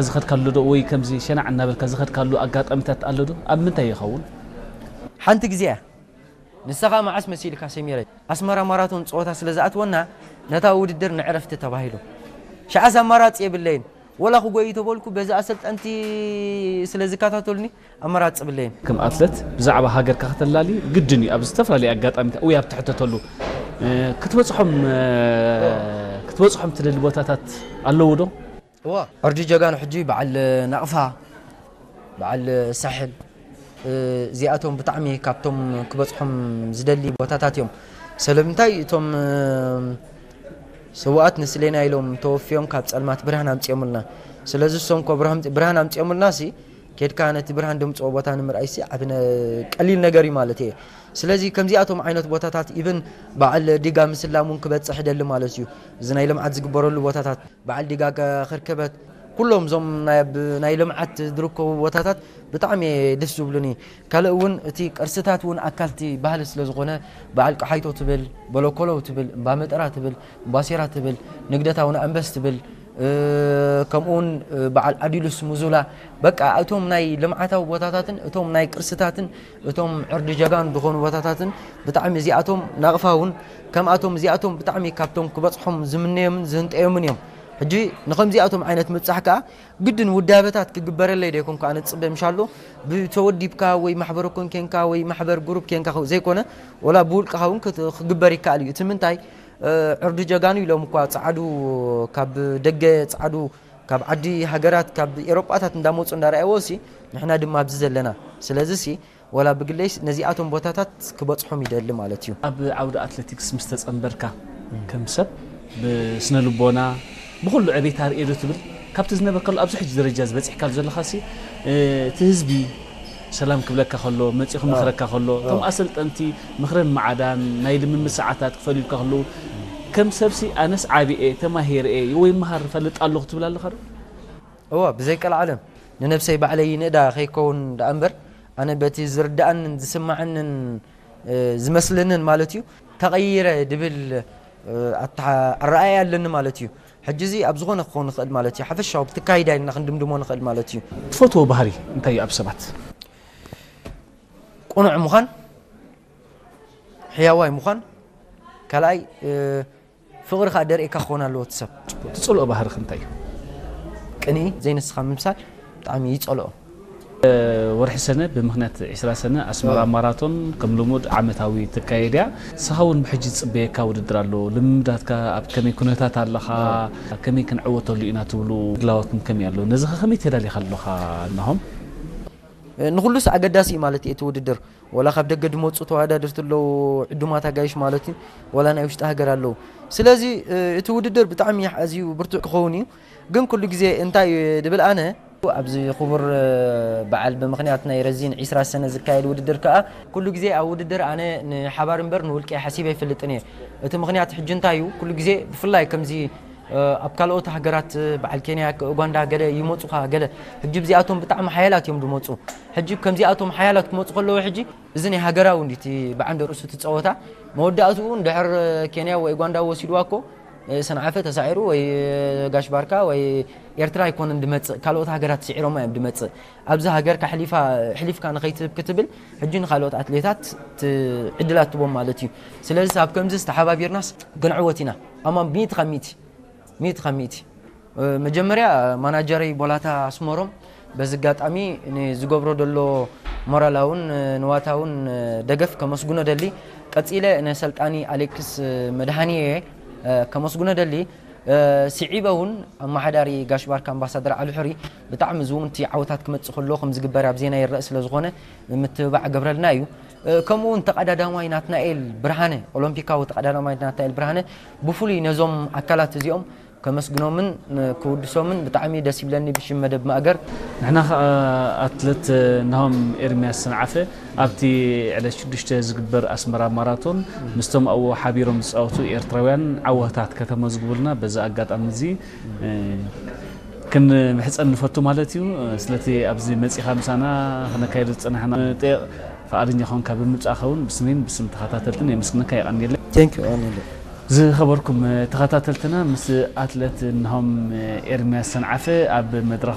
ዝኸድካሉ ዶ ወይ ከምዚ ሸናዕ እናበልካ ዝኸድካሉ ኣጋጣሚታት ኣሎ ዶ? ኣብ ምንታይ ይኸውን? ሓንቲ ግዜ እያ። ንስኻ መዓስ መሲልካ ሰሚረ? ኣስመራ ማራቶን ጸወታ ስለ ዝኣትወና፣ ነታ ውድድር ንዕረፍቲ ተባሂሉ። ሸዓስ ኣማራጺ የብለይን። ወላ ክጎይ ተበልኩ፣ በዚ ኣሰልጠንቲ ስለ ዝከታተሉኒ፣ ኣማራጺ የብለይን። ከም ኣትለት ብዛዕባ ሃገርካ ከተላሊ ግድን እዩ። ኣብ ዝተፈላለየ ኣጋጣሚታት ወይ ኣብ ትሕተተሉ፣ እ፣ ክትበጽሖም፣ እ፣ ክትበጽሖም ትደሊ ቦታታት ኣለዉ ዶ? እዋ፣ ዕርዲ ጀጋኑ ሕጂ በዓል ናቕፋ፣ በዓል ሳሕል፣ እ፣ እዚኣቶም ብጣዕሚ ካብቶም ክበጽሖም ዝደሊ ቦታታት እዮም። ስለምንታይ እቶም፣ እ፣ ስውኣት ንስሌና ኢሎም ተወፍዮም ካብ ጸልማት ብርሃን ኣምጺኦምልና። ስለዚ እሶም እኮ ብርሃን፣ ብርሃን ኣምጺኦምልና ሲ፣ ኬድካ ነቲ ብርሃን ደምጽኦ ቦታ ንምርኣይ ሲ፣ ዓቢ ነ-፣ ቀሊል ነገር እዩ ማለት እየ። ስለዚ ከምዚኣቶም ዓይነት ቦታታት ኢብን በዓል ዲጋ ምስላም እውን ክበጽሕ ይደሊ ማለት እዩ። እዚ ናይ ልምዓት ዝግበረሉ ቦታታት በዓል ዲጋ ከ-፣ ክርከበት ኩሎም እዞም ናይ፣ ኣብ ናይ ልምዓት ዝርከቡ ቦታታት ብጣዕሚ ደስ ዝብሉኒ። ካልእ እውን እቲ ቅርስታት እውን ኣካልቲ ባህሊ ስለ ዝኾነ በዓል ቀሓይቶ ትብል፣ በለኮለው ትብል፣ እምባመጠራ ትብል፣ እምባሴራ ትብል፣ ንግደት ኣቡነ ኣንበስ ትብል፣ እ፣ ከምኡ እውን፣ እ፣ በዓል ኣዲሉስ ሙዙላ፣ በቃ እቶም ናይ ልምዓታዊ ቦታታትን እቶም ናይ ቅርስታትን እቶም ዕርዲ ጀጋኑ ዝኾኑ ቦታታትን ብጣዕሚ እዚኣቶም ናቕፋ እውን ከምኣቶም እዚኣቶም ብጣዕሚ ካብቶም ክበጽሖም ዝምነዮምን ዝህንጠዮምን እዮም። ሕጂ ንኸምዚኣቶም ዓይነት ምብጻሕ ከኣ ግድን ውዳበታት ክግበረለይ ዶ ይኮንኩ ኣነ ዝጽበ ምሻሎ ብተወዲብካ ወይ ማሕበረ ኮን ኬንካ ወይ ማሕበር ግሩፕ ኬንካ ዘይኮነ ወላ ብውልቅኻ እውን ክት-፣ ክግበር ይከኣል እዩ። እቲ ምንታይ፣ እ፣ ዕርዲ ጀጋኑ ኢሎም እኳ ጸዓዱ ካብ ደገ ጸዓዱ ካብ ዓዲ ሃገራት ካብ ኤሮጳታት እንዳመጹ እንዳረኣይዎ ሲ ንሕና ድማ ኣብዚ ዘለና። ስለዚ ሲ ወላ ብግለይስ ነዚኣቶም ቦታታት ክበጽሖም ይደሊ ማለት እዩ። ኣብ ዓውዲ ኣትሌቲክስ ምስ ተጸንበርካ ከም ሰብ ብስነ ልቦና ብኹሉ ዕቤት ኣርእየ ዶ ትብል? ካብቲ ዝነበርካሉ ኣብዚ ሕጂ ደረጃ ዝበጺሕካሉ ዘለኻ ሲ፣ እ፣ እቲ ህዝቢ ሰላም ክብለካ ከሎ፣ መጺኡ ክመኽረካ ከሎ፣ እቶም ኣሰልጠንቲ ምኽርን መዓዳን ናይ ልምምድ ሰዓታት ክፈልዩልካ ከለዉ፣ ከም ሰብሲ ኣነስ ዓቢየ፣ ተማሂረ ወይ መሃር እፈልጥ ኣለኹ ትብል ኣለኻ ዶ? እወ፣ ብዘይቀልዓለም ንነብሰይ ባዕለይ ይንእዳ ከይከውን ደኣ እምበር፣ ኣነ በቲ ዝርድኣንን ዝስማዓንን፣ እ፣ ዝመስለንን ማለት እዩ፣ ተቐይረ ድብል፣ እ፣ ኣተሓ-፣ ኣረኣእያ ኣለኒ ማለት እዩ። ሕጂ እዚ ኣብ ዝኾነ ክኸውን ይኽእል ማለት እዩ። ሓፈሻዊ ብትካይዳ ኢልና ክንድምድሞ ንኽእል ማለት እዩ። ትፈትዎ ባህሪ እንታይ እዩ ኣብ ሰባት? ቅኑዕ ምዃን፣ ሕያዋይ ምዃን፣ ካልኣይ፣ እ፣ ፍቕሪ ከኣ ደርእየካ ክኸውን ኣለዎ እቲ ሰብ። ትጸልኦ ባህርኺ እንታይ እዩ? ቅንኢ፣ ዘይንስኻ ምምሳል ብጣዕሚ ይጸልኦ። ወርሒ ሰነ ብምኽንያት ዕስራ ሰነ ኣስመራ ማራቶን ከም ልሙድ ዓመታዊ ትካየድ እያ። ንስኻ እውን ብሕጂ ዝጽበየካ ውድድር ኣሎ። ልምምዳትካ ኣብ ከመይ ኩነታት ኣለኻ? ከመይ ክንዕወተሉ ኢና ትብሉ ድላዎትኩም ከመይ ኣሎ? ነዚ ከ ከመይ ተዳሊኻ ኣለኻ ናሆም? ንኹሉስ ኣገዳሲ እዩ ማለት እዩ እቲ ውድድር። ወላ ካብ ደገ ዝመጹ ተወዳደርቲ ኣለዉ፣ ዕዱማት ኣጋይሽ ማለት እዩ፣ ወላ ናይ ውሽጢ ሃገር ኣለዉ። ስለዚ፣ እ፣ እቲ ውድድር ብጣዕሚ ኣዝዩ ብርቱዕ ክኸውን እዩ። ግን ኩሉ ግዜ እንታይ እዩ ድብል ኣነ፣ ኣብዚ ክቡር፣ እ፣ በዓል ብምኽንያት ናይ ረዚን ዕስራ ሰነ ዝካየድ ውድድር ከኣ፣ ኩሉ ግዜ ኣብ ውድድር ኣነ ንሓባር እምበር ንውልቀይ ሓሲበ ኣይፈልጥን እየ። እቲ ምኽንያት ሕጂ እንታይ እዩ፣ ኩሉ ግዜ ብፍላይ ከምዚ እ፣ ኣብ ካልኦት ሃገራት፣ እ፣ በዓል ኬንያ፣ ኡጋንዳ ገለ ይመጹኻ፣ ገለ። ሕጂ ብዚኣቶም ብጣዕሚ ሓያላት እዮም ዝመጹ። ሕጂ ከምዚኣቶም ሓያላት ክመጹ ከለዉ፣ ሕጂ እዚ ናይ ሃገራዊ እንዲ እቲ ብዓንደ ርእሱ እቲ ጸወታ፣ መወዳእትኡ እንድሕር ኬንያ ወይ ኡጋንዳ ወሲድዋ እኮ፣ እ፣ ሰንዓፈ ተሳዒሩ ወይ፣ እ፣ ጋሽ ባርካ ወይ ኤርትራ ኣይኮነን ድመጽእ፣ ካልኦት ሃገራት ስዒሮማ እዮም ድመጽእ። ኣብዚ ሃገርካ ሕሊፋ-፣ ሕሊፍካ ንኸይትህብ ክትብል፣ ሕጂ ንኻልኦት ኣትሌታት ት-፣ ዕድላት ትቦም ማለት እዩ። ስለዚ ኣብ ከምዚ ዝተሓባቢርናስ ክንዕወት ኢና። ኣማን ሚእቲ ካብ ሚእቲ። ሚእቲ ካብ ሚእቲ። እ፣ መጀመርያ ማናጀረይ ቦላታ ኣስመሮም በዚ ኣጋጣሚ ንዝገብሮ ዘሎ ሞራላውን፣ እ፣ ንዋታውን፣ እ፣ ደገፍ ከመስግኖ ደሊ። ቀጺለ ነሰልጣኒ ኣሌክስ፣ እ፣ መድሃኒ እየ፣ እ፣ ከመስግኖ ደሊ። እ፣ ስዒበ እውን ኣመሓዳሪ ጋሽ ባርካ ኣምባሳደር ዓሊ ሑሪ ብጣዕሚ ዝውንቲ ዓወታት ክመጽእ ከሎ ከም ዝግበር ኣብ ዜና ይረአ ስለ ዝኾነ ምትብባዕ ገብረልና እዩ። እ፣ ከምኡ እውን ተቐዳዳማይ ናትናኤል ብርሃነ፣ ኦሎምፒካዊ ተቐዳዳማይ ናትናኤል ብርሃነ ብፍሉይ ነዞም ኣካላት እዚኦም ከመስግኖምን፣ እ፣ ክውድሶምን ብጣዕሚ ደስ ይብለኒ ብሽም መደብ ማእገር። ንሕና ኸኣ ኣትለት ናሆም ኤርምያስ ሰንዓፈ ኣብቲ ዕለት ሽዱሽተ ዝግበር ኣስመራ ማራቶን ምስቶም ኣብኡ ሓቢሮም ዝጻወቱ ኤርትራውያን ዓወታት ከተመዝግቡልና በዚ ኣጋጣሚ እዚ፣ እ፣ ክንምሕጸን ንፈቱ ማለት እዩ። ስለቲ ኣብዚ መጺኻ ምሳና ክነካየዶ ዝጸናሕና ጤቕ ፍቓደኛ ኾንካ ብምምጻእኻ እውን ብስሜን ብስም ተኸታተልትን የመስግነካ፣ የቐንየለይ። Thank you፣ የቐንየለይ። ዝኸበርኩም ተኸታተልትና፣ ምስ ኣትለት ናሆም ኤርምያስ ሰንዓፈ ኣብ መድረኽ